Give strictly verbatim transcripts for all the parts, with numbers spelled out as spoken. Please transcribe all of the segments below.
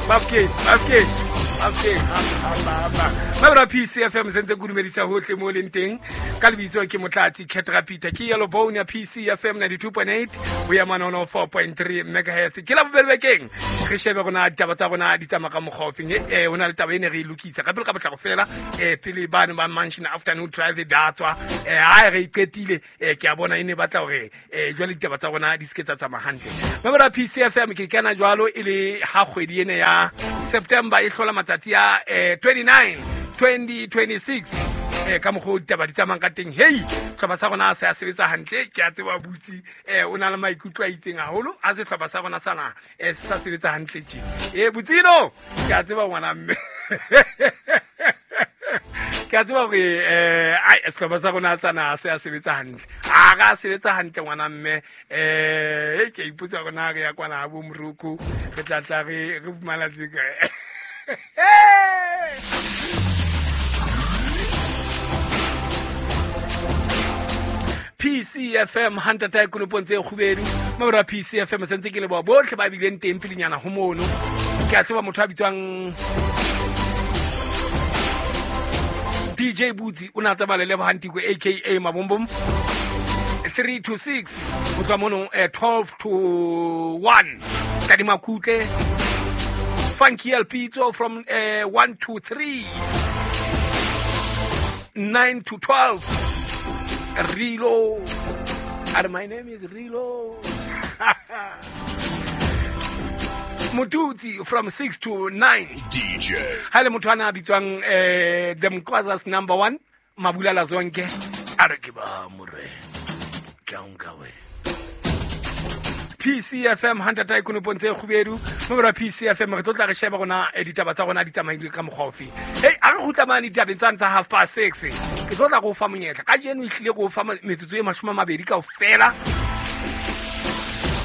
Bafokeng, Bafokeng, Bafokeng, hamba hamba. Mabra P C F M sentse kudumedisa hohle mo leng teng. Ka lebitso ke Motlatsi Ketra Peter ke Yellow Bone ya P C F M ninety-two point eight ho ya mane one oh four point three megahertz. Ke la bobedi bekeng. Re shebe rona ditaba tsa rona di tsamaya ka mokgwa ofeng. Eh, ho na le taba e ne re e lokisa ka pele ka potlako fela. Eh, pele bane ba Mansion Afternoon Drive ba tswa. Eh, ha re iqetile, eh, ke a bona e ne batla hore, eh, jwale ditaba tsa rona di se ke tsa tsamaya hantle. Mabra P C F M ke kena jwalo e le ha kgwedi ena ya September e hlola matsatsi a, eh, twenty-nine, twenty twenty-six. Eh, ka mokgwa o ditaba di tsamayang ka teng. Hei, sehlopha sa rona se a sebetsa hantle. Ke a tseba butsi, eh, o na le maikutlo a itseng haholo ha sehlopha sa rona sa naha, eh, se sa sebetsa hantle tje. Eh, Butsino, ke a tseba ngwana mme. Ke a tseba hore, eh, ai, sehlopha sa rona sa naha se a sebetsa hantle. Ha ra sebetsa hantle ngwana mme. Eh, ke a ipotsa hore na re ya kwana ha bo Morocco, re tla tla re, re fumana tse kae. P C F M Hunter Tai konopong tse kgubedu. Mabra P C F M sentse ke leboha bohle ba bileng teng pelenyana ho mono. Ke a tseba motho a bitswang D J Butsi o na tsamaya le Lebohang Tiko A K A Mabombom three to six ho tloha mono, eh, twelve to one. Tadima Kutle Funky El Pizzo from, eh, one to three, nine to twelve. Rilo. And my name is Rilo. Motutsi from six to nine. D J. Ha le motho ana a bitswang, eh, the Mkwazas number one, Mabulala Zonke. A re ke ba more. Ke a nka we. P C F M Hunter Tai konopong tse kgubedu. Mabra P C F M re tlo tla re sheba rona, eh, ditaba tsa rona di tsamaile ka mokgwa ofe. Hey, a re kgutla mane ditabeng tsane tsa half past six. Ke tlo tla go fa monyetla. Kajeno ehlile go fa metsotso e mashome a mabedi kaofela.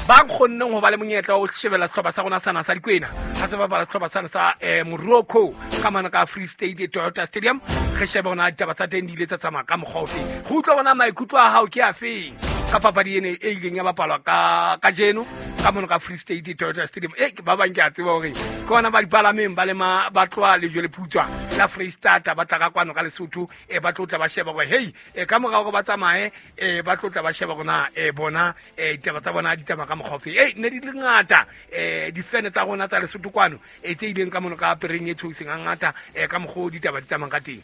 Ba kgonneng ho ba le monyetla wa ho shebella sehlopha sa rona sana sa Dikwena. Ha se bapala sehlopha sana sa, eh, Morocco ka mane ka Free State Toyota Stadium. Re shebe hona ditaba tsa teng di ile tsa tsamaya ka mokgwa ofe. Re utlwa hona maikutlo a hao ke afeng ka papadi ene e ileng ya bapalwa ka kajeno ka mono ka Free State Toyota Stadium. Eh, ba bang ke a tseba hore ke hona ba dipalameng ba le ma, ba tloha lejwe le putswa la Free State ba tla ka kwano ka Lesotho, eh, ba tlo tla ba sheba hore hey, eh, ka morao hore ba tsamaye, eh, ba tlo tla ba sheba hore na, eh, bona, eh, ditaba tsa bona di tsamaya ka mokgwa ofe. Eh, ne di le ngata, eh, difene tsa rona tsa Lesotho kwano, eh, tse ileng ka mono ka pereng e tshoiseng hangata, eh, ka mokgwa o ditaba di tsamayang ka teng.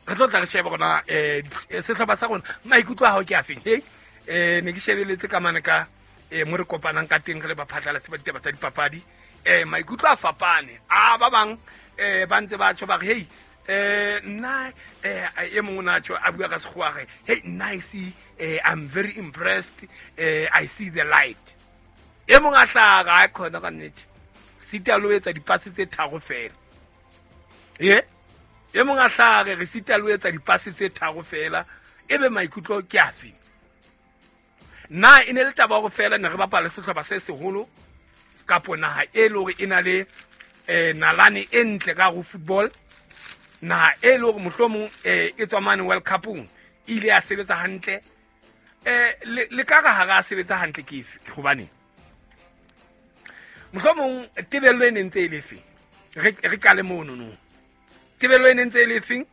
Re tlo tla re shebe rona, eh, sehlopha sa rona maikutlo a hao ke afeng. Hey, eh, ne ke shebeletse ka mane ka, eh, mo re kopanang ka teng re le baphatlalatsi ba ditaba tsa dipapadi. Eh, maikutlo a fapane. A ba bang, eh, ba ntse ba tjho ba re, hey, eh, nna, eh, e mong o na tjho a bua ka sekgowa a re, hey, nna I see, eh, I'm very impressed, eh, I see the light. E mong a hlaha, a khona ka nnete. Sita lo etsa dipase tse tharo fela. Eh? E mong a hlaha re sita lo etsa dipase tse tharo fela, ebe maikutlo ke afe? Na e ne le taba hore fela ne re bapala sehlopha se seholo kapo naha e le hore e na le, eh, nalane e ntle ka ho football, naha e le hore mohlomong, eh, e tswa mane World Cup-ong, e ile ya sebetsa hantle. Eh, le, le ka re ha re a sebetsa hantle ke efe? Hobaneng? Mohlomong tebello e ne ntse e le efe? Re, re qale mono no. Tebello e ne ntse e le efeng?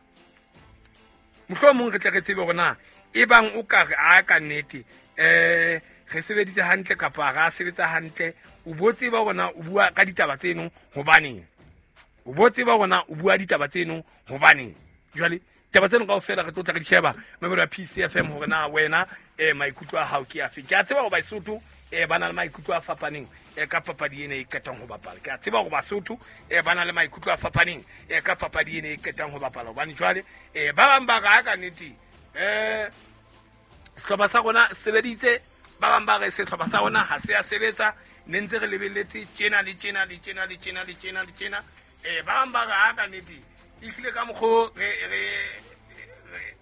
Mohlomong re tle re tsebe hore na e bang o ka re a ka nnete, eh, re sebeditse hantle kapa ha re a sebetsa hantle, o bo tseba hore na o bua ka ditaba tseno hobaneng? O bo tseba hore na o bua ditaba tseno hobaneng? Jwale taba tseno kaofela re tlo tla re di sheba mabelo a P C F M hore na wena, eh, maikutlo a hao ke afe. Ke a tseba hore Basotho, eh, ba na le maikutlo a fapaneng, eh, ka papadi ena e qetang ho bapala. Ke a tseba hore Basotho, eh, ba na le maikutlo a fapaneng, eh, ka papadi ena e qetang ho bapala. Hobane jwale, eh, ba bang ba re, ha ka nnete, eh, sehlopha sa rona se sebeditse, ba bang ba re sehlopha sa rona ha se a sebetsa, ne ntse re lebelletse tjena le tjena le tjena le tjena le tjena le tjena. Eh, ba bang ba re, ha ka nnete, ehlile ka mokgo re, re, re,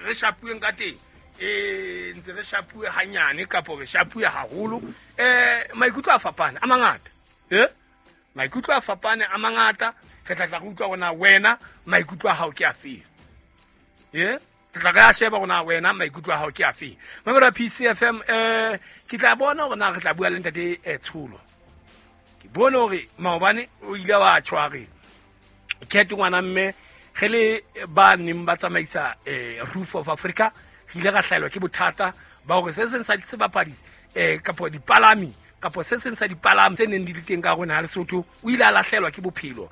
re shapuweng ka teng, eh, ntse re shapuwe hanyane kapo re shapuwe haholo. Eh, maikutlo a fapane a mangata. Eh? Maikutlo a fapane a mangata. Re tla tla re utlwa hore na wena maikutlo a hao ke afe. Eh? Re tla re a sheba hore na wena maikutlo a hao ke afe. Mamela P C F M, eh, ke tla bona hore na re tla bua le ntate, eh, Tsholo. Ke bone hore maobane o ile wa tjho a re cat ngwana mme ge le ba neng ba tsamaisa um Roof of Africa, re ile ra hlaelwa ke bothata ba hore se seng sa sebapadi um kapo dipalami kapo se seng sa dipalami tse neng di le teng ka rona ya Lesotho o ile a lahlelwa ke bophelo um.